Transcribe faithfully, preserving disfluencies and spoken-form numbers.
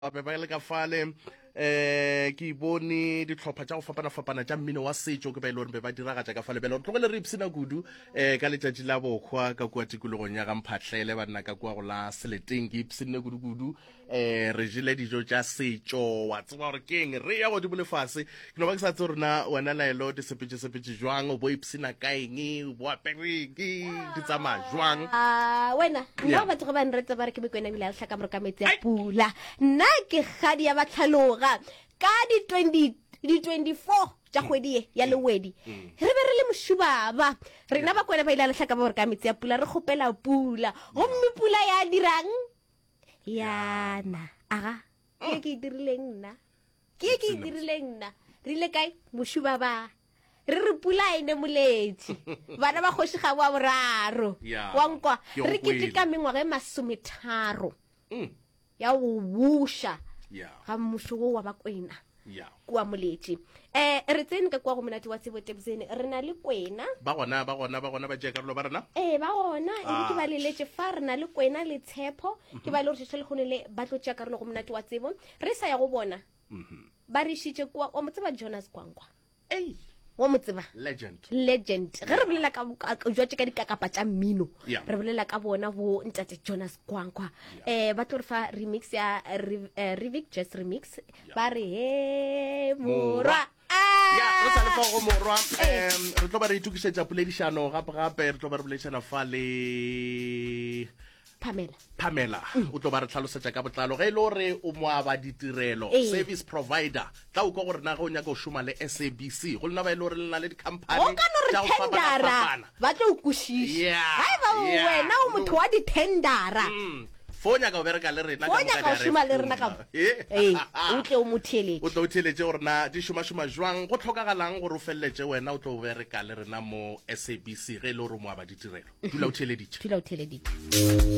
Be ba le ka fale um ke bone dihlopha tša go fapana-fapana tša mmino wa setšo ke ba e le gore be ba diragatša ka fale. Bjale re tlogele re ipshina kudu um ka letšatši la bohwa ka kua tikologong ya gamphatlele banna ka kua go la Seleteng. Ke ipshinne kudu-kudu, um re jele dijo tša setšo, wa tseba gore keng, re ya godimo lefase. Ke no ba ke sa tse rena wena Laelo di sepetse-sepetse jwang, o bo ipshina ka eng, bo apereng, di tsamaya jwang? Ah, wena nna batho ge ba nreta ba re ke Mokwena ebile a lehlaka moro ka metsi a pula. Nna ke kgadi ya batlhaloga ka di twenty di twenty-four tša kgwedi ye ya Lewedi, re be re le mošubaba rena Bakwena ba ile a lehlaka ba gore ka metsi a pula, re kgopela pula, gomme pula ya dirang yana. Aga ke ke e dirileng nna, ke ke e dirileng nna. Re ile kae mošubaba, re re pula e ne moletše bana ba kgoši ga wa boraro wa nkwa re keteka mengwaga e masometharo ya go buša ga mmušo wo wa Bakwena kua Moletše. um re tsene ka kua go Monate wa Tsebo Tebzene, re na le Kwena. Ba gona, ba gona, ba gona, ba tšea karolo ba rena. Ee, ba gona e ke ba leletše fa. Re na le Kwena le Tshepo, ke ba le gore šešo lekgone le ba tlo tšea karolo go Monate wa Tsebo. Re sa ya go bona, ba re išitše kua wa mo tseba Jonas Kwankwa, ei wa mo tseba legend, legend. Ge re bolela ka jwatše ka dikakapa tša mmino, re bolela ka bona bo ntate Jonas Kwankwa. um ba tlo re fa remix ya Revic Jazz Remix, ba re he morwa. Ya re sa le fa go morwa, um re tlo ba re itokišetša poledišano gape gape, re tlo ba re boledišana fa le Pamela. Pamela o tlo ba re tlhalosetša ka botlalo ge e le gore o moaba ditirelo, service provider, tla o kwa gore na ge o nyaka go šoma le S A B C, go lena ba e le gore le na le di-company o ka no re tša go tendera fapana-fapana. Ba tlo o kwešiša. Yeah, ga e ba yeah. wena o motho wa di-tendera, Mm. Fo o nyaka go bereka le rena fo ka o moka nyaka go di šoma le rena ka R F Eh. ee, o tle o mo theeletše. O tlo o theeletše gore na di šomašoma jwang, go tlhokagalang gore o feleletše wena o tlo bereka le rena mo S A B C. Ge e le gore o moaba ditirelo, dula o theeleditše. Dula o theeleditše.